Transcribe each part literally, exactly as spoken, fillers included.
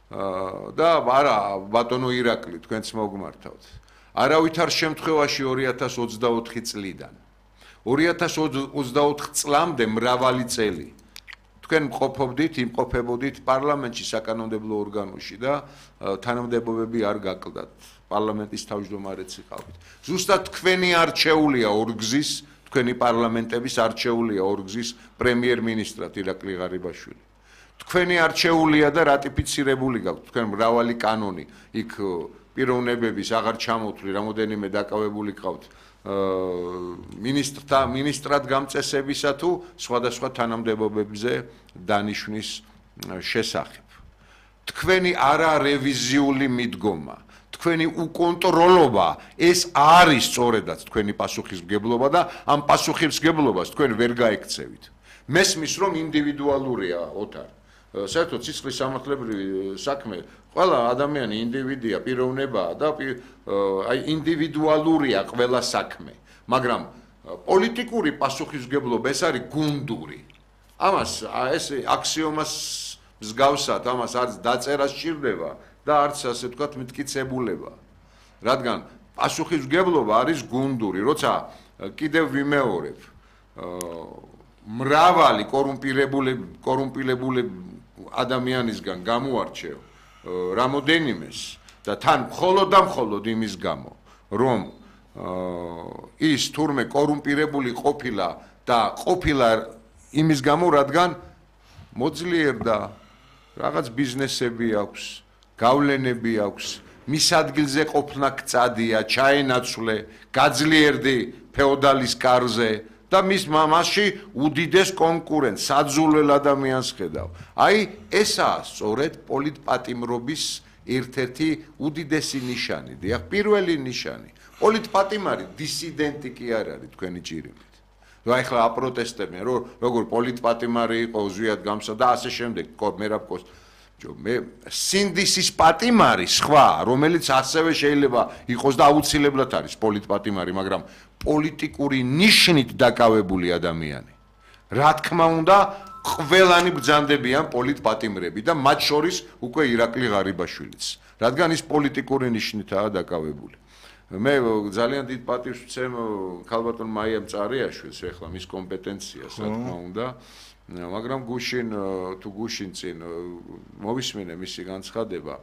და არა ბატონო ირაკლი თქვენც მოგმართავთ. არავითარ შემთხვევაში ორი ათას ოცდაოთხი წლიდან ორი ათას ოცდაოთხ წლამდე მრავალი წელი თქვენ მყოფობდით, იმყოფებოდით პარლამენტში საკანონმდებლო ორგანოში და თანამდებობები არ გაკლდათ. პარლამენტის თავმჯდომარეც იყავით. ზუსტად თქვენი არჩეულია ორგზის, თქვენი პარლამენტების არჩეულია ორგზის პრემიერ-მინისტრად ირაკლი ღარიბაშვილი. თქვენი არჩეულია და რატიფიცირებული გაქვთ თქვენ მრავალი კანონი, იქ პიროვნებების აღარ ჩამოთვლი, რამოდენიმე დაკავებული ყავთ მინისტრთა მინისტრად გამწესებისა თუ სხვადასხვა თანამდებობებზე დანიშვნის შესახებ. თქვენი არარევიზიული მიდგომა, თქვენი უკონტროლობა ეს არის სწორედაც თქვენი პასუხისმგებლობა და ამ პასუხისმგებლობას თქვენ ვერ გაექცევით. მესმის რომ ინდივიდუალურია ოთარ. საერთოდ სისხლის სამართლებრივი საქმე ყველა ადამიანი ინდივიდია, პიროვნებაა და აი ინდივიდუალურია ყველა საქმე, მაგრამ პოლიტიკური პასუხისმგებლობა ეს არის გუნდური. ამას ეს აქსიომას მსგავსად, ამას არც დაწერა სჭირდება და არც ასე ვთქვათ მტკიცებულება. რადგან პასუხისმგებლობა არის გუნდური, როცა კიდევ ვიმეორებ, მრავალი კორუმპირებული კორუმპირებული ადამიანისგან გამოარჩევ რამოდენიმეს და თან მხოლოდ და მხოლოდ იმის გამო, რომ ის თურმე კორუმპირებული ყოფილა და ყოფილა იმის გამო, რადგან მოძლიერდა, რაღაც ბიზნესები აქვს, გავლენები აქვს, მის ადგილზე ყოფნა გწადია, ჩაენაცვლე, გაძლიერდი ფეოდალის კარზე და მის მასში უდიდეს კონკურენტს, საძულველ ადამიანს ხედავ. აი, ესაა სწორედ პოლიტპატიმრობის ერთ-ერთი უდიდესი ნიშანი, დიახ, პირველი ნიშანი. პოლიტპატიმარი დისიდენტი კი არ არის თქვენი ჭირიმით. აი ახლა აპროტესტებენ, რომ როგორ პოლიტპატიმარი იყო უზვიად გამსა და ასე შემდეგ, მერაბკოს მე სინდისის პატიმარი სხვა, რომელიც ასევე შეიძლება იყოს და აუცილებლად არის პოლიტპატიმარი, მაგრამ პოლიტიკური ნიშნით დაკავებული ადამიანი. რა თქმა უნდა, ყველანი ბრძანდებიან პოლიტპატიმრები და მათ შორის უკვე ირაკლი ღარიბაშვილიც, რადგან ის პოლიტიკური ნიშნითაა დაკავებული. მე ძალიან დიდ პატივს ვცემ ქალბატონ მაია მწარიაშვილს, ეხლა მის კომპეტენციას, რა თქმა უნდა, მაგრამ გუშინ თუ გუშინ წინ მოვისმინე მისი განცხადება,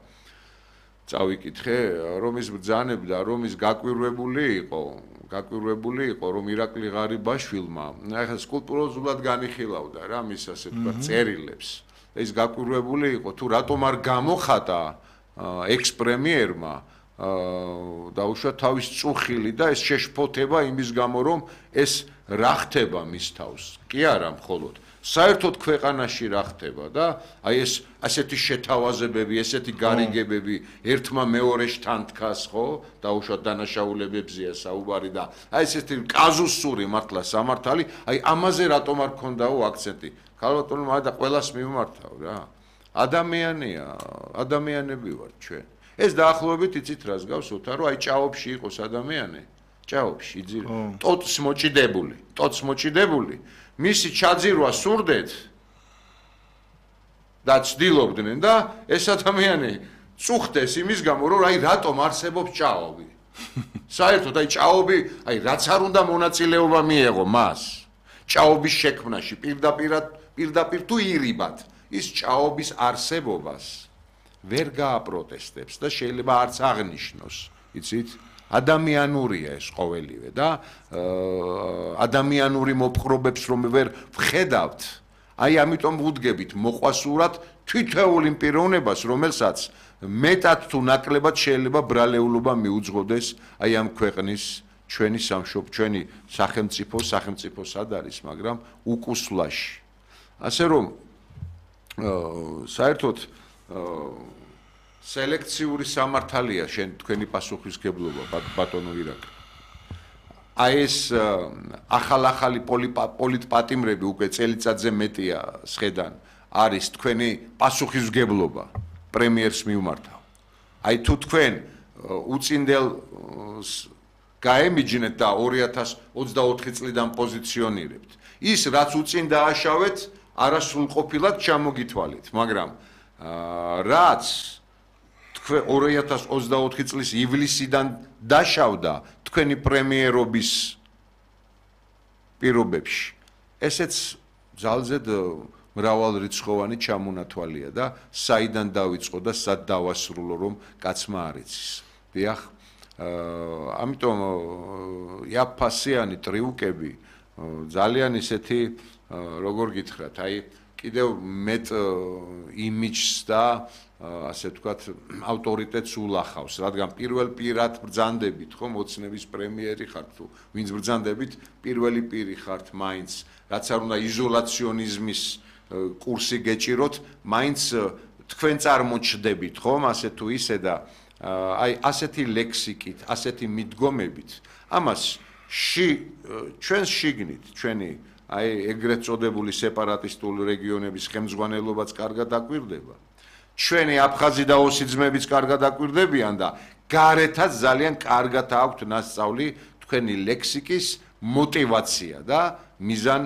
წავიკითხე, რომ ის ბრძანებდა, რომ ის გაკვირვებული იყო, გაკვირვებული იყო, რომ ირაკლი ღარიბაშვილმა, ახლა სკულპტუროზულად განიხილავდა რა მის ასე ვთქვათ წერილებს. ის გაკვირვებული იყო, თუ რატომ არ გამოხატა ექს-პრემიერმა დაუშვა თავის წუხილი და ეს შეშფოთება იმის გამო, რომ ეს რა ხდება მის თავს. კი არა მხოლოდ საერთოდ ქვეყანაში რა ხდება და აი ეს ასეთი შეთავაზებები, ესეთი გარიგებები ერთმა მეორეში თან დგას, ხო? დაუშვათ დანაშაულებებზეა საუბარი და აი ესეთი კაზუსური მართლა სამართალი, აი ამაზე რატომ არ ქონდაო აქცენტი? ქალბატონო და ყველას მიმართავ რა. ადამიანია, ადამიანები ვართ ჩვენ. ეს დაახლოებით იცით რას გავს ოთარ, რომ აი ჭაობში იყოს ადამიანი, ჭაობში იძირო, ტოტს მოჭიდებული, ტოტს მოჭიდებული. მისი ჩაძირვა სურდეთ და ცდილობდნენ და ეს ადამიანი წუხდეს იმის გამო, რომ აი რატომ არსებობს ჭაობი. საერთოდ აი ჭაობი, აი რაც არ უნდა მონაწილეობა მიეღო მას. ჭაობის შექმნაში პირდაპირად, პირდაპირ თუ ირიბად ის ჭაობის არსებობას ვერ გააპროტესტებს და შეიძლება არც აღნიშნოს, იცით? ადამიანურია ეს ყოველივე და ადამიანური მოპყრობებს რომ ვერ ვხედავთ, აი ამიტომ ვუდგებით მოყვასურად თითოეულ იმ პიროვნებას, რომელსაც მეტად თუ ნაკლებად შეიძლება ბრალეულობა მიუძღოდეს აი ამ ქვეყნის ჩვენი სამშობლო, ჩვენი სახელმწიფო, სახელმწიფო სად არის, მაგრამ უკუსლაში. ასე რომ საერთოდ სელექციური სამართალია შენ თქვენი პასუხისმგებლობა ბატონო ირაკლი. აი ეს ახალ-ახალი პოლიტპატიმრები უკვე წელიწადზე მეტია სხედან არის თქვენი პასუხისმგებლობა პრემიერს მიმართავ. აი თუ თქვენ უწინდელ გაემიჯნეთ და ორი ათას ოცდაოთხი წლიდან პოზიციონირებთ. ის რაც უწინ დააშავეთ, არასრულყოფილად ჩამოგითვალეთ, მაგრამ რაც თქვენ ორი ათას ოცდაოთხი წლის ივლისიდან დაშავდა თქვენი პრემიერობის პირობებში. ესეც ძალზედ მრავალრიცხოვანი ჩამონათვალია და საიდან დავიწყო და სად დავასრულო რომ კაცმა არ იცის. დიახ, ამიტომ იაფფასიანი ტრიუკები ძალიან ისეთი როგორ გითხრათ, აი კიდევ მეტ იმიჯს და ასე ვთქვათ, ავტორიტეტს ულახავს, რადგან პირველ პირად ბრძანდებით, ხო, მოცნების პრემიერი ხართ თუ ვინც ბრძანდებით, პირველი პირი ხართ მაინც, რაც არ უნდა იზოლაციონიზმის კურსი გეჭიროთ, მაინც თქვენ წარმოჩდებით, ხომ, ასე თუ ისე და აი ასეთი ლექსიკით, ასეთი მიდგომებით, ამას ში ჩვენს შიგნით, ჩვენი აი ეგრეთ წოდებული სეპარატისტული რეგიონების ხელმძღვანელობაც კარგად დაკვირდება. ჩვენი აფხაზი და ოსი ძმებიც კარგად დაკვირდებიან და გარეთაც ძალიან კარგად აქვთ ნასწავლი თქვენი ლექსიკის мотивация და მიზან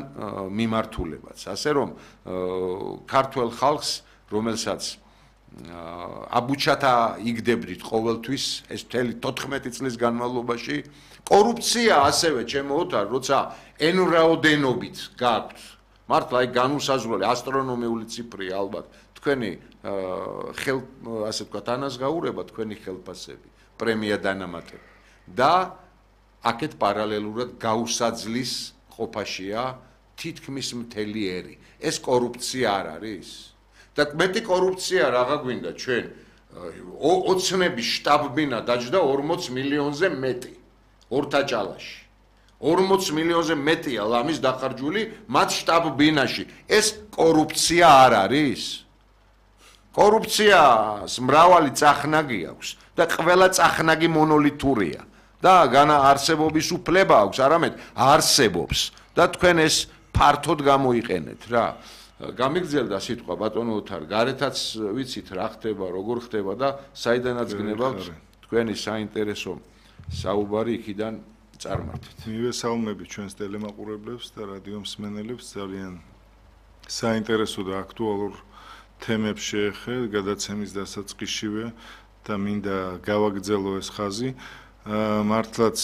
მიმართულებაც. ასე რომ ქართველ ხალხს, რომელსაც აბუჩათა იგდებდით ყოველთვის ეს მთელი თოთხმეტი წლის განმავლობაში, კორუფცია ასევე ჩემო ოთარ, როცა ენრაოდენობით გაქვთ, მართლა აი განუსაზღვრელი ასტრონომიული ციფრია ალბათ, თქვენი ხელ ასე ვთქვათ ანაზღაურება თქვენი ხელფასები, პრემია დანამატები და აქეთ პარალელურად გაუსაძლის ყოფაშია თითქმის მთელი ერი. ეს კორუფცია არ არის? და მეტი კორუფცია რაღა გვინდა ჩვენ ოცნების შტაბ-ბინა დაჯდა ორმოც მილიონზე მეტი ორთაჭალაში. ორმოც მილიონზე მეტია ლამის დახარჯული მათ შტაბ-ბინაში. ეს კორუფცია არ არის? კორუფციას მრავალი წახნაგი აქვს და ყველა წახნაგი მონოლითურია და განა არსებობის უფლება აქვს, არამედ არსებობს და თქვენ ეს ფართოდ გამოიყენეთ რა. გამიგრძელდა სიტყვა ბატონო ოთარ, გარეთაც ვიცით რა ხდება, როგორ ხდება და საიდანაც გნებავთ თქვენი საინტერესო საუბარი იქიდან წარმართეთ. მივესალმები ჩვენს ტელემაყურებლებს და რადიო მსმენელებს, ძალიან საინტერესო და აქტუალურ თემებს შეეხეთ გადაცემის დასაწყისშივე და მინდა გავაგრძელო ეს ხაზი. მართლაც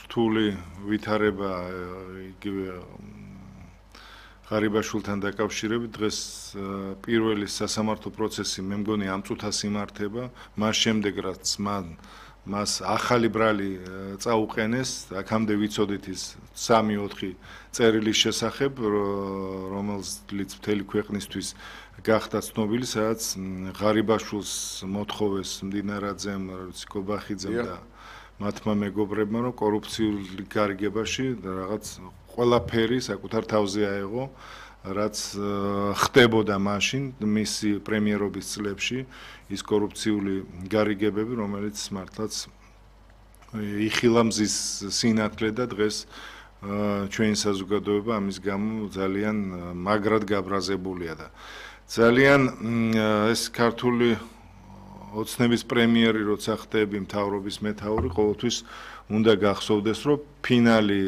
რთული ვითარება იგივე ღარიბაშვილთან დაკავშირებით დღეს პირველი სასამართლო პროცესი მე მგონი ამ წუთას იმართება, მას შემდეგ რაც მან მას ახალი ბრალი წაუყენეს, აქამდე ვიცოდით ის სამი ოთხი წერილის შესახებ, რომელზეც მთელი ქვეყნისთვის გახდა ცნობილი, სადაც ღარიბაშვილს მოთხოვეს მდინარაძემ, კობახიძემ და მათმა მეგობრებმა, რომ კორუფციული გარიგებაში რაღაც ყველაფერი საკუთარ თავზე აეღო, რაც ხდებოდა მაშინ მისი პრემიერობის წლებში, ის კორუფციული გარიგებები, რომელიც მართლაც იხილა მზის სინათლე და დღეს ჩვენი საზოგადოება ამის გამო ძალიან მაგრად გაბრაზებულია და ძალიან ეს ქართული ოცნების პრემიერი როცა ხდები მთავრობის მეთაური ყოველთვის უნდა გახსოვდეს რომ ფინალი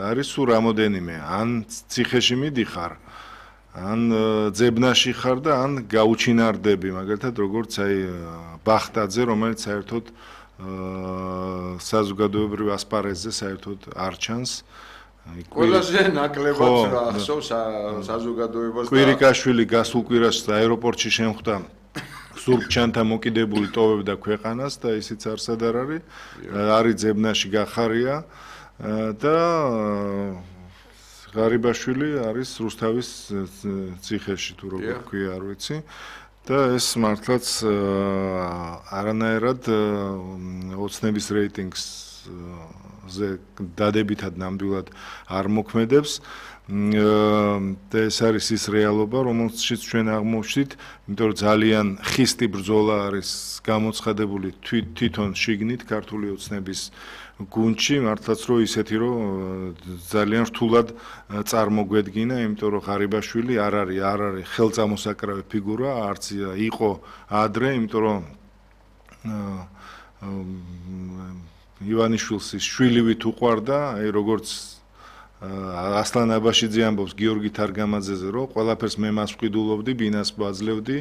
არის სულ რამოდენიმე ან ციხეში მიდიხარ ან ძებნაში ხარ და ან გაუჩინარდები მაგალითად როგორც აი ბახტაძე რომელიც საერთოდ საზოგადოებრივ ასპარეზზე საერთოდ არ ჩანს ყველაზე ნაკლებად ახსოვს საზოგადოებას და კვირიკაშვილი გასულ კვირას აეროპორტში შემხვდა სურგჩანთა მოკიდებული ტოვებდა ქვეყანას და ისიც არსად არ არის არის ძებნაში გახარია და ღარიბაშვილი არის რუსთავის ციხეში თუ როგორ ქვია არ ვიცი და ეს მართლაც არანაირად ოცნების რეიტინგს ზე დადებითად ნამდვილად არ მოქმედებს და ეს არის ის რეალობა, რომელშიც ჩვენ აღმოვჩნდით, იმიტომ რომ ძალიან ხისტი ბრძოლა არის გამოცხადებული თვითონ შიგნით ქართული ოცნების გუნდში, მართლაც რომ ისეთი რომ ძალიან რთულად წარმოგვედგინა, იმიტომ რომ ღარიბაშვილი არ არის არ არის ხელწამოსაკრავი ფიგურა, არც იყო ადრე, იმიტომ რომ ივანიშვილს ის შვილივით უყვარდა, აი როგორც ასლან აბაშიძე ამბობს გიორგი თარგამაძეზე, რომ ყველაფერს მე მას ვყიდულობდი, ბინას ვაძლევდი